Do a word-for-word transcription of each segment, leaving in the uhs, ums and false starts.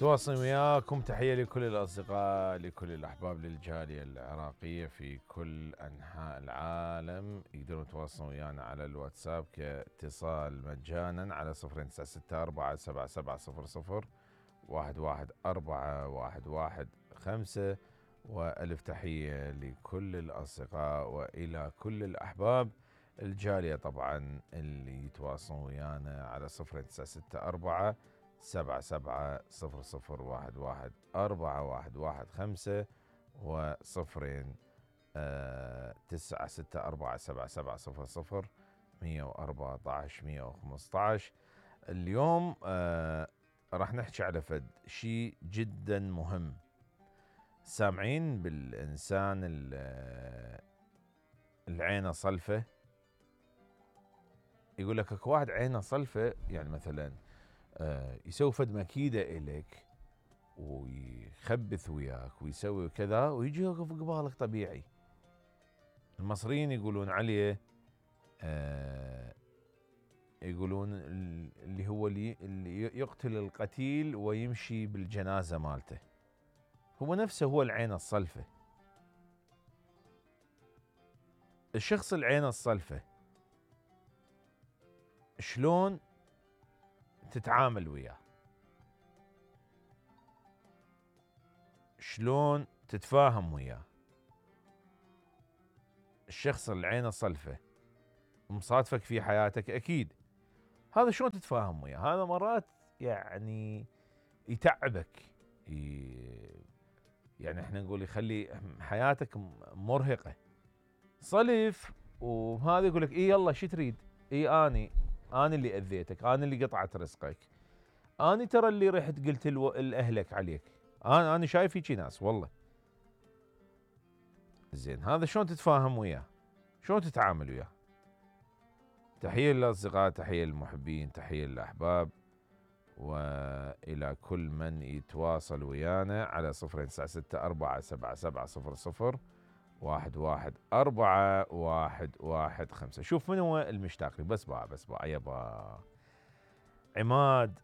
تواصل وياكم. تحية لكل الأصدقاء، لكل الأحباب للجالية العراقية في كل أنحاء العالم. يقدرون يتواصلون ويانا على الواتساب كاتصال مجانا على صفر تسعة ستة أربعة سبعة سبعة صفر صفر واحد واحد أربعة واحد واحد خمسة. وألف تحية لكل الأصدقاء وإلى كل الأحباب الجالية طبعا اللي يتواصلون ويانا على صفر تسعة ستة أربعة سبعة سبعة صفر صفر واحد واحد أربعة واحد واحد خمسة وصفرين آه تسعة ستة أربعة سبعة سبعة صفر صفر مية وأربعة عشر مية وخمسة عشر. اليوم آه راح نحكي على فد شيء جدا مهم. سامعين بالإنسان العينة صلفة؟ يقول لك اكو واحد عينه صلفة، يعني مثلا آه يسوي فد مكيدة إليك ويخبث وياك ويسوي كذا ويجي يوقف قبالك طبيعي. المصريين يقولون عليه آه يقولون اللي هو اللي, اللي يقتل القتيل ويمشي بالجنازة مالته، هو نفسه هو العين الصلفة. الشخص العين الصلفة شلون تتعامل وياه؟ شلون تتفاهم وياه؟ الشخص العين الصلفة مصادفك في حياتك أكيد، هذا شلون تتفاهم وياه؟ هذا مرات يعني يتعبك، يعني احنا نقول يخلي حياتك مرهقة. صلف وهذا يقول لك اي يلا شو تريد؟ اي اني انا اللي اذيتك، انا اللي قطعت رزقك، انا ترى اللي رحت قلت لاهلك عليك، انا انا شايف هيجي ناس والله. زين هذا شلون تتفاهم وياه؟ شلون تتعامل وياه؟ تحية للأصدقاء، تحية للمحبين، تحية للأحباب، وإلى كل من يتواصل ويانا على صفر تسعة ستة أربعة سبعة سبعة صفر صفر واحد واحد أربعة واحد واحد خمسة. شوف من هو المشتاق لي، بس بقى بس بقى يبا عماد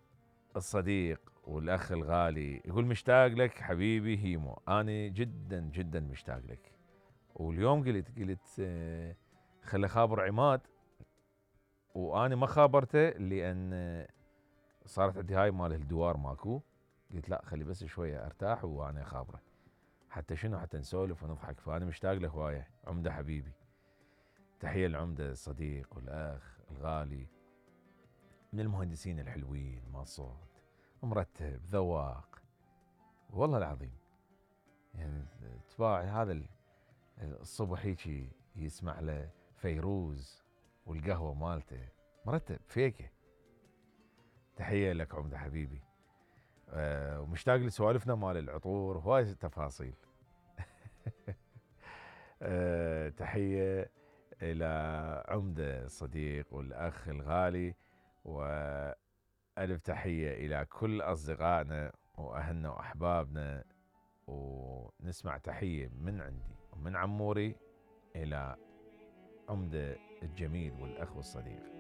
الصديق والأخ الغالي يقول مشتاق لك حبيبي هيمو. أنا جدا جدا مشتاق لك، واليوم قلت قلت خلي خابر عماد، وأنا ما خابرته لأن صارت عندي هاي مال الدوار ماكو. قلت لا خلي بس شوية ارتاح وانا خابره، حتى شنو حتى نسولف ونضحك. فانا مشتاق له هوايه عمده حبيبي. تحيه العمده الصديق والاخ الغالي، من المهندسين الحلوين، ما صوت مرتب ذواق والله العظيم. يعني تباعي هذا الصبح هيجي يسمع له فيروز والقهوه مالته مرتب فيكه. تحيه لك عمده حبيبي. أه ومشتاق لسوالفنا مال العطور وهواي تفاصيل. أه تحية إلى عمدة الصديق والأخ الغالي، وألف تحية إلى كل أصدقائنا وأهلنا وأحبابنا. ونسمع تحية من عندي ومن عموري إلى عمدة الجميل والأخ والصديق.